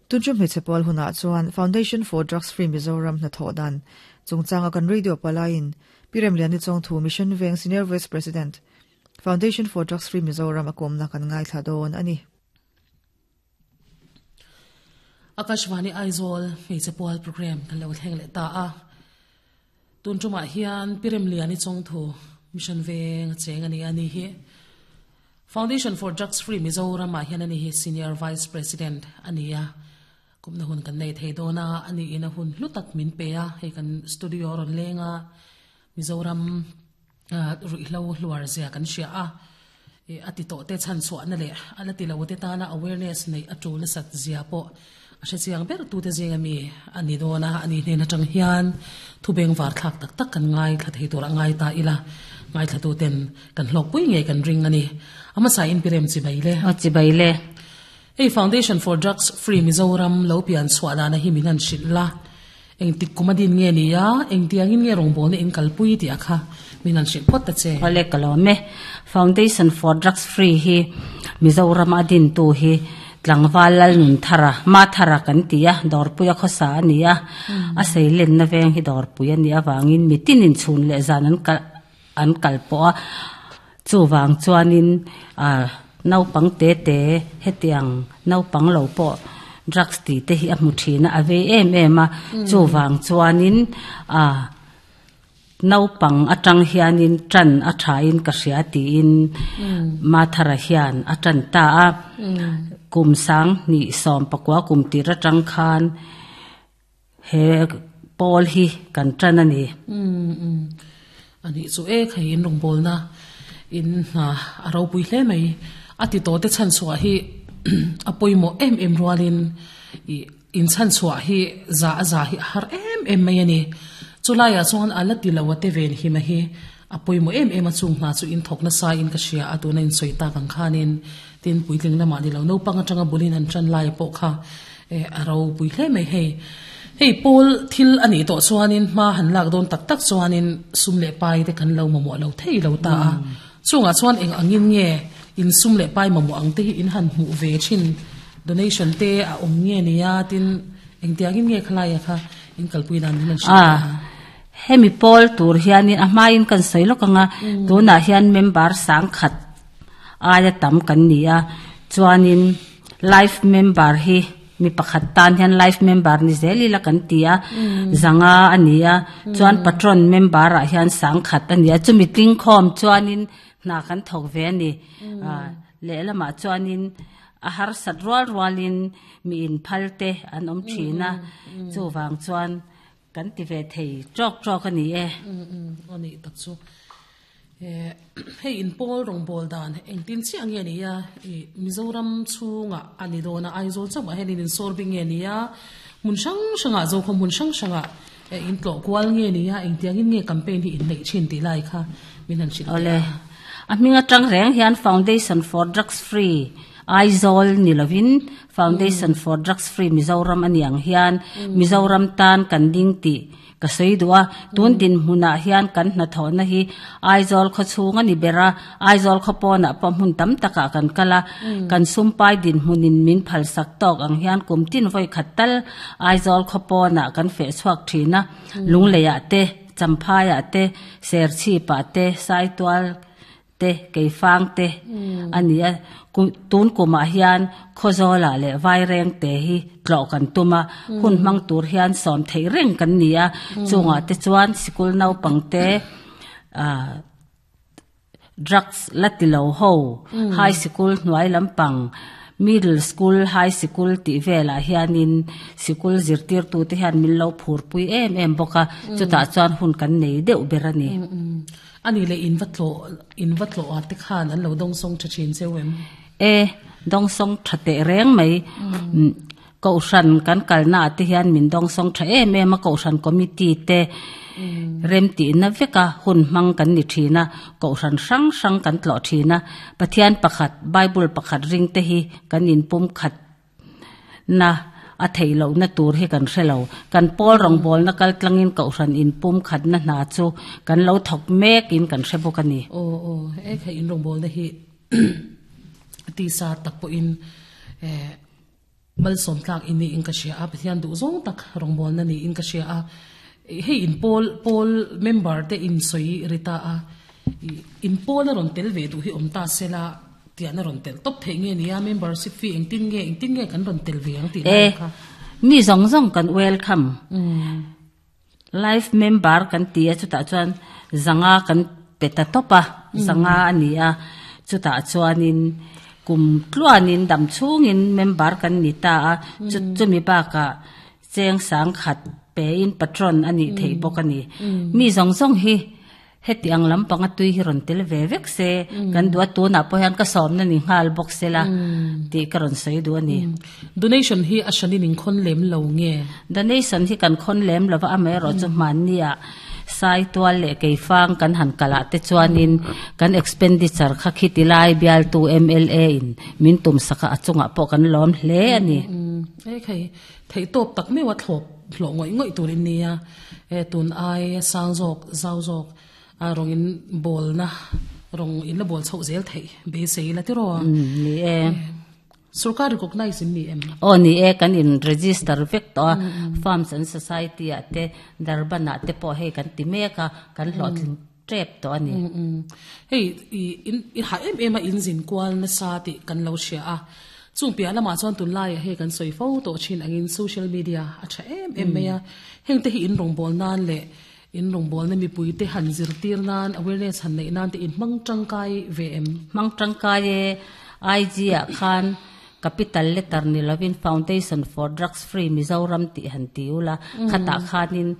Tunṭum hmeichhe pawl hunah chuan Foundation for Drugs Free Mizoram hnathawh dan chungchanga kan radio palaiin Pi Remliani Chawngthu Mission Veng Senior Vice President, Foundation for Drugs Free Mizoram a kawmna kan ngaithla dawn a ni. Akashvani Aizawl hmeichhe pawl program kan lo thleng leh ta a. Tun tumah hian Pi Remliani Chawngthu Mission Veng a cheng a ni a ni hi. Foundation for Drugs Free Mizoram ah hian a ni hi Senior Vice President a ni a. Kumna hun kan nei thei dawn a, a niin a hun hlu tak min pe a, hei kan studio a rawn leng a, Mizoram ruihhlo hluar zia kan hria a, a ti tawh te chhan chhuahna leh a la ti lo te tana awareness neih a tul nasat zia pawh a hre chiang ber tute zinga mi a ni dawn a, a ni hnen atang hian thu bengvar thlak tak tak kan ngaithla thei tur a ngai ta ila, ngaithlatu ten kan hlawkpui ngei kan ring a ni. A hmasa in pirem chibai le. A chibai le. Hei Foundation for Drugs Free Mizoram lo pian chhuah dana hi min han hrilh la, engtik kum a din nge ni a, engtiangin nge rawngbawlna in kalpui tih a kha min han hrilh phawt ta che. Awle ka lawm e. Foundation for Drugs Free hi Mizoram a dintu hi Tlangval Lalnunthara, Mathara kan ti a, Dawrpuia khawsa a ni a, a seilenna veng hi Dawrpui a nih avangin mitin inchhun leh zan an kal an kal pawh a, chuvang chuanin ah naupang te te hetiang naupang lo pawh drugs tih te hi a hmu thin a a vei em em a chuvang chuanin ah naupang atang hianin tan a thain ka hria tiin Mathara hian a tan ta a kum sang hnih sawm pakua kum tir atang khan. He pawl hi kan tan a ni. Umm umm a nih chu e khai in rawngbawlna in hna a ropui hle mai. A ti tawh te chhan chhuah hi a pawimawh em em rualin ih in chhan chhuah hi za a za hi a har em em mai a ni. Chulaiah chuan a la ti lo a te ven hima hi a pawimawh em em a chung hna chu in thawk nasa in ka hria a tuna in sawi tak ang khanin tin puitling lamah ni lo naupang atanga bulin han tan lai pawh kha Eh, a ropui hle mai hei. Hei pawl thil a nih tawh chuanin hma han lak dawn tak tak chuanin sum leh pai te kan lo mamawh lo thei lo ta a. Chungah chuan eng angin nge in sum leh pai mamawh ang te hi in han hmuh ve thin donation te a awm nge nia tin engtiangin nge khalaia kha in kalpui dan min han hrilh a. Hemi pawl tur hianin a hmain kan sawi lawk ang a, tunah hian member sangkhat aia tam kan ni a, chuanin Life member hi mi pakhat tan hian life member ni zel ila kan ti a, zanga a ni a, chuan patron member ah hian sangkhat a ni a, chumi tlingkhawm chuanin hna kan thawk ve a ni. Lehlamah chuanin a harsat rual rualin mi inphal te an awm thin a, chuvang chuan Kan ti ve thei tawk tawk a ni e. Aw nih tak chu. Hei in pawl rawngbâwl dan engtin chiah nge ni a? Ih Mizoram chhungah a ni dawn a, Aizawl chauhah hian in insawr bik nge ni a? Hmun hrang hrangah Zokhawm hmun hrang hrangah in tlawh kual nge ni a? Engtiangin nge campaign hi in neih thin tih lai kha min han hrilh teh a. Awle. A hming atang reng hian Foundation for Drugs Free Aizawl ni lovin Foundation for Drugs Free Mizoram a ni ang hian Mizoram tan kan ding tih ka sawi duh a. Tun dinhmunah hian kan hnathawhna hi Aizawl khaw chhung a ni ber a, Aizawl khaw pawnah pawh hmun tam takah kan kal a. Kan sumpai dinhmunin min phalsak tawk ang hian kum tin vawi khat tal Aizawl khaw pawnah kan feh chhuak thin a. Lungleiah te, Champhaiah te, Serchhipah te, Saitual te Keifang te a ni a, tun kumah hian Khawzawlah leh Vaireng te hi tlawh kan tum a, hun hmang tur hian sawm theih reng kan ni a, chungah te chuan sikul naupang te ah drugs la ti lo ho high sikul hnuai lampang middle school high sikul tih velah hianin sikul zirtirtute hian min lo phurpui em em bawk a, chutah chuan hun kan nei deuh ber a ni. A nih leh in va tlawh, in va tlawh ah te khan an lo dawngsawng tha thin cheu em? E, dawngsawng tha teh reng mai. Kohhran kan kalna ah te hian min dawngsawng tha em em a, Kohhran committee te remtihna veka hun hmang kan ni thin a, Kohhran hrang hrang kan tlawh thin a, Pathian pakhat, Bible pakhat ring te hi kan inpum khat Na a theih lohna tur hi kan hre lo. Kan pawl rawngbawlna kal tlangin kohhran inpum khatna hna chu kan lo thawk mekin kan hre bawk a ni. Aw aw, he kha in rawngbawlna hi tisa tak pawhin eh. Malsawm tlak i niin ka hria a, Pathian duh zawng tak rawngbawlna niin ka hria a. Hei in pawl pawl member te in sawi ri ta a, in pawl a rawn tel ve duh hi awm ta se la tian a rawn tel tawp theih nge nia, membership fee engtin nge engtin nge kan rawn tel ve ang tih lai kha. Mi zawng zawng kan welcome. Life member kan ti a chutah chuan zanga kan pe ta tawp a, zanga a ni a, chutah chuanin kum tluanin dam chhungin member kan ni ta a, chu chumi bakah cheng sangkhat pein patron a nih theih bawk a ni. Mi zawng zawng hi Heti ang lampanga tui hi rawn tel ve vek se, kan duh a, tunah pawh hian ka sawmna ni nghal bawk se la tih ka rawn sawi duh a ni. Donation hi a hranin in khawn lem lo nge? Donation hi kan khawn lem lo va, amaherawh chu hmannia Saitual leh Keifang kan han kalh ah te chuanin kan expenditure kha khiti lai bialtu mla in min tum sak a, a chungah pawh kan lawm hle a ni. Ekhei, theihtawp tak meuh a thlawp hlawh ngawih ngawih tur in nia. E tun ai sang zawk zau zawk a rawng in bawlna rawng in la bawl chhoh zel theih beisei la tiraw? Ni e. Sorkar recognize in ni em? Aw ni e, kan in register vek tawh a, Farms and Society ah te Durban ah te pawh hei kan ti mek a, kan hlawhtling tep tawh a ni. Hei i in i hah em em a in zin kual nasa tih kan lo hria a, chung piah lamah chuan tunlaiah hei kan sawi fo tawh thin angin social media a tha em em mai a, heng te hi in rawngbâwl nan leh in rawngbâwlna mipui te han zirtir nan awareness han neih nan te in hmang tangkai ve em? Hmang tangkai e, IG ah khan capital letter ni lovin Foundation for Drugs Free Mizoram tih han ti ula, khatah khanin.